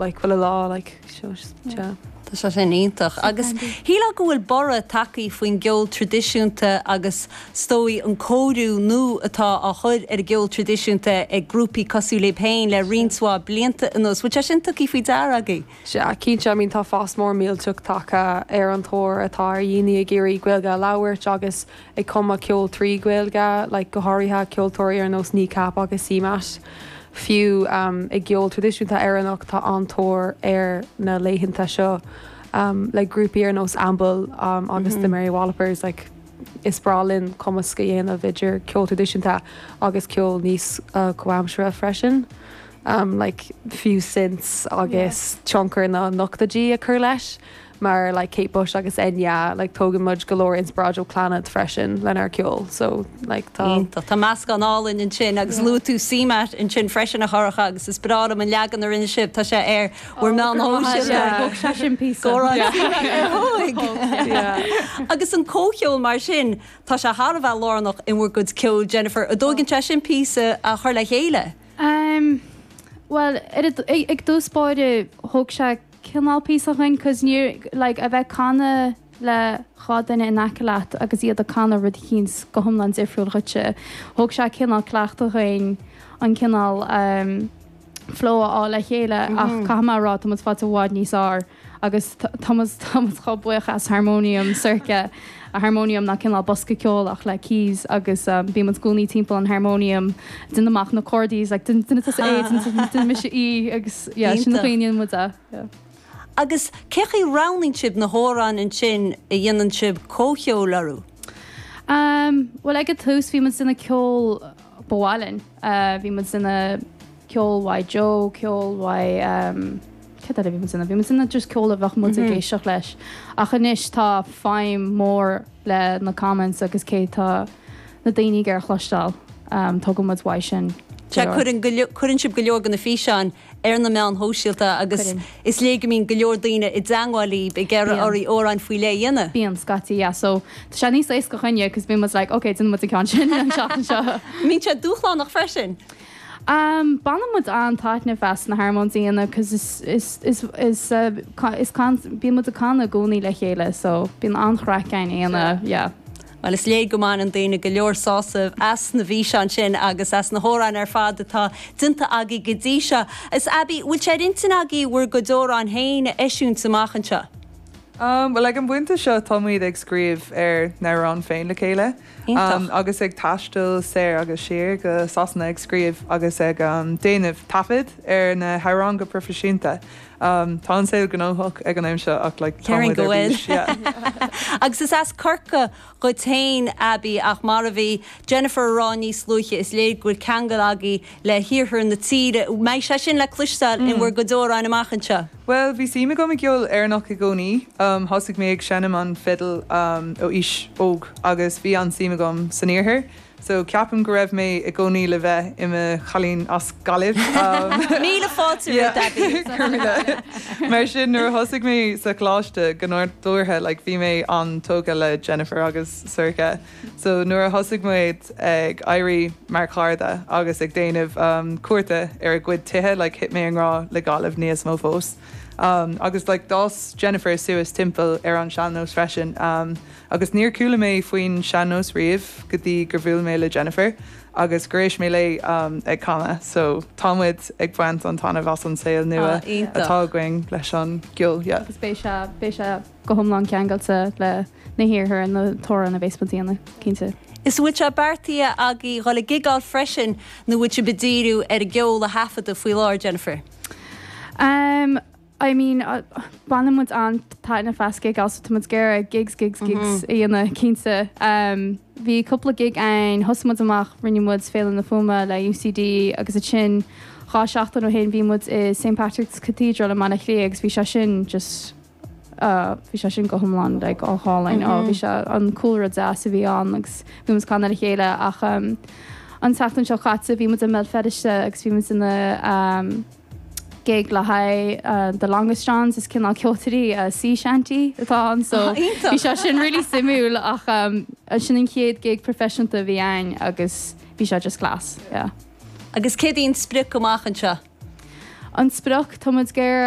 Like chuile lá like so yeah. Tá sé sin iontach. Agus shílfeá go bhfuil borradh tagtha faoin gceol traidisiúnta agus is dóigh an cóiriú nua atá á chur ar an gceol traidisiúnta ag grúpaí cosúil libh féin le roinnt mhaith blianta anuas. Bhfuil sé sin tugtha faoi deara agaibh? Sea, cinnte. I mean tá fás mór millteach tagtha ar an tóir atá ar dhaoine ag iarraidh Gaeilge a labhairt agus ag cumadh ceol trí Ghaeilge, like go háirithe ceoltóirí ar nós Kneecap agus CMAT. Fiú i gceol traidisiúnta Éireannach tá an-tóir air na laethanta seo le grúpaí ar nós Amble agus The Mary Wallopers. Like is breá linn cumasc a dhéanamh idir ceol traidisiúnta agus ceol níos comhaimseartha freisin. Like fiú synths agus tionchar na n-ochtóidí a chur leis. Mar like Kate Bush agus Enya like tógann muid go leor inspioráid ó Clannad freisin lenár gceol so like tá. Iontach. Tá meascán álainn ansin agus luaigh tú CMAT ansin freisin a Shorcha agus is breá liom an leagan a rinne sibh, tá sé ar bhur meáin shóisialta. Thóg sé sin píosa. Go raibh CMAT ar thóig. Agus an comhcheol mar sin, tá sé thar a bheith lárnach in bhur gcuid ceoil Jennifer. An dtóigeann sé sin píosa a chur le chéile? Bhuel, ag dtús báire thóg sé cineál píosa dhuinn 'cause níor, like, a bheith canadh le 2 duine in aice leat agus iad ag canadh rud eicínt go hiomlán difriúil dhuitse, thóg sé cineál cleachtadh dhuinn an cineál ehm flow a fháil le chéile ach caithfidh mé a rá tá muid faighte i bhfad níos fhearr agus tá muid tá muid chomh buíoch as harmonium Sorcha, harmonium ná cineál bosca ceoil ach le keys agus bíonn muid i gcónaí timpeall an harmonium ag déanamh amach na cordaí like déanann tusa A déanann mise E agus yeah sin an chaoi a ndéanann muid é yeah. Agus cé chaoi a roghnaíonn sibh na hamhráin ansin a dhéanann sibh comhcheol orthu? Um bhuel ag an tús bhí muid ag déanamh ceol ba mhaith linn bhí muid ag déanamh ceol uaidh Joe ceol uaidh um Céard eile a bhí muid ag déanamh? Bhí muid ag déanamh just ceol a bheadh muid ag éisteacht leis. Ach anois tá feidhm mór le na comments agus cé tá na daoine ag iarraidh a chloisteáil. Tógann muid uaidh sin Sea, cuireann go leor, cuireann sibh go leor de na físeáin ar na meáin shóisialta agus Cuireann. is léir go mbíonn go leor daoine i dteangmháil libh ag iarraidh Bíonn. oraibh amhráin faoi leith a dhéanamh. Bíonn, scaití, yeah. So tá sé níos éasca chugainne 'cause bíonn muid like, ok, déanann muid an ceann sin an tseachtain seo. Mbíonn sé dúshlánach freisin? Baineann muid an-taitneamh as na harmóins a dhéanamh 'cause is is is is is bíonn muid ag canadh i gcónaí le chéile so bíonn an-chraic againn a dhéanamh yeah. Bhuel is léir go mbaineann daoine go leor sásamh as na bhfíseáin sin agus as na hamhráin ar fad atá déanta agaibh go dtí seo. Is Abbie, bhfuil sé ar intinn agaibh bhur gcuid amhráin féin a eisiúint amach anseo? Bhuel ag an bpointe seo tá muid ag scríobh ár n-amhráin féin le chéile. Iontach. Agus ag taisteal soir agus siar go Sasana ag scríobh agus ag déanamh taifead ar na hamhráin go proifisiúnta. Tá an saol gnóthach ag an am seo ach like tá Déarfainn muid go ar bhfuil. bís, yeah. Agus is as Corcaigh dhuit féin, Abbie, ach mar a bhí Jennifer a rá níos luaithe, is léir go bhfuil ceangal agaibh le hiarthar na tíre. Mbeidh sé sin le cloisteáil in bhur gcuid amhráin amach anseo? Bhuel, bhí suim agam i gceol Éireannach i gcónaí. Thosaigh mé ag seinm an fidil ó aois óg agus bhí an-suim agam san iarthar. So ceapaim go raibh mé i gcónaí le bheith i mo chailín as Gaillimh. Míle fáilte romhat, Abbie. Go raibh míle. Mar sin, nuair a thosaigh mé sa choláiste, go nádúrtha, like, bhí mé an-tógtha le Jennifer agus Sorcha. So nuair a thosaigh muid ag éirí mar chairde agus ag déanamh cuairte ar a gcuid tithe, like thit mé i ngrá le Gaillimh níos mó fós. Agus like d'fhás Jennifer suas timpeall ar an sean-nós freisin agus níor chuala mé faoin sean-nós riamh go dtí gur bhuail mé le Jennifer agus gur éist mé léi ag canadh. So tá muid ag baint an taitneamh as an saol nua atá againn leis an gceol, yeah. Agus beidh sé, beidh sé. go hiomlán ceangailte le na hiarthar na hamhráin a bhéas muid a dhéanamh, cinnte. Is bhfuil sé beartaithe agaibh dhul ag gigeáil freisin nó bhfuil sibh ag díriú ar an gceol a thaifeadadh faoi láthair, Jennifer? Umm, I mean, baineann muid an-taitneamh as gigeáil so tá muid ag iarraidh gigs, gigs, gigs a dhéanamh, cinnte. Umm, bhí cúpla gig ann, thosaigh muid amach, rinne muid Féile na Fuaime le UCD agus ansin 2 seachtain ó shin bhí muid i St Patrick's Cathedral i mBaile Átha Cliath agus bhí sé sin just, bhí sé sin go hiomlán like go hálainn oh bhí sé an cúlra deas a bhí ann agus bhí muid ag canadh le chéile ach um, an tseachtain seo caite bhí muid i mBéal Feirste agus bhí muid ina um, gig le haghaidh uh, The Longest Johns is cineál ceoltóirí uh, sea shanty atá ann so Iontach. bhí sé sin really suimiúil ach um, sin an chéad gig proifisiúnta a bhí ann agus bhí sé just class yeah. Agus céard í an sprioc amach anseo? An sprioc, tá muid ag iarraidh.